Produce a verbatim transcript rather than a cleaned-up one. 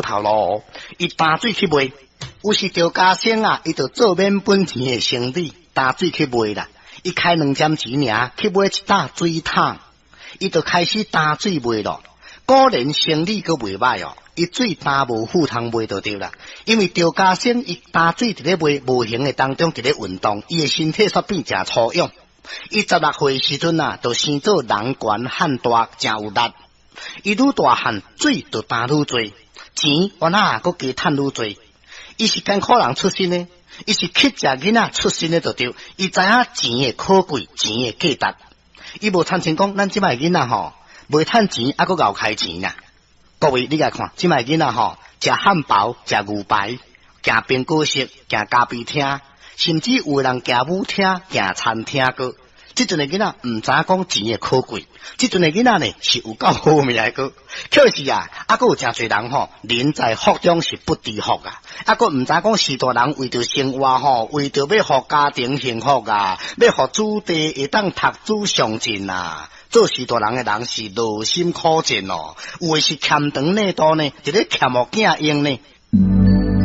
好頭路哦。伊擔水去賣，有時趙家生啊，伊就做免本錢的生意，擔水去賣啦。伊開兩針錢爾，去買一擔水桶，伊就開始擔水賣咯。果然生意閣袂䆀哦，伊水擔無赴通賣就對啦。因為趙家生伊擔水佇咧賣，無形的當中佇咧運動，伊的身體煞變誠粗勇。伊十六歲時陣啊，就生做人懸漢大，誠有力。伊愈大漢，水就擔愈濟，錢原來閣加趁愈濟。伊是艱苦人出身的，伊是乞食囡仔出身的，就對。伊知影錢的可貴，錢的價值。伊無親像講，咱這擺囡仔吼，袂趁錢，猶閣𠢕開錢啊！各位，你來看，這擺囡仔吼，食漢堡、食牛排、行蘋果室、行咖啡廳，甚至有的人行舞廳、行餐廳閣。這陣的囡仔毋知影講錢的可貴，這陣的囡仔呢是有夠好命的閣。可是啊，猶閣有誠濟人吼，人在福中是不知福啊！猶閣毋知講序大人為著生活吼，為著欲予家庭幸福啊，欲予子弟會當讀書上進啊！做序大人的人是勞心苦戰哦，有的是欠長領多呢，佇咧欠予囝用呢。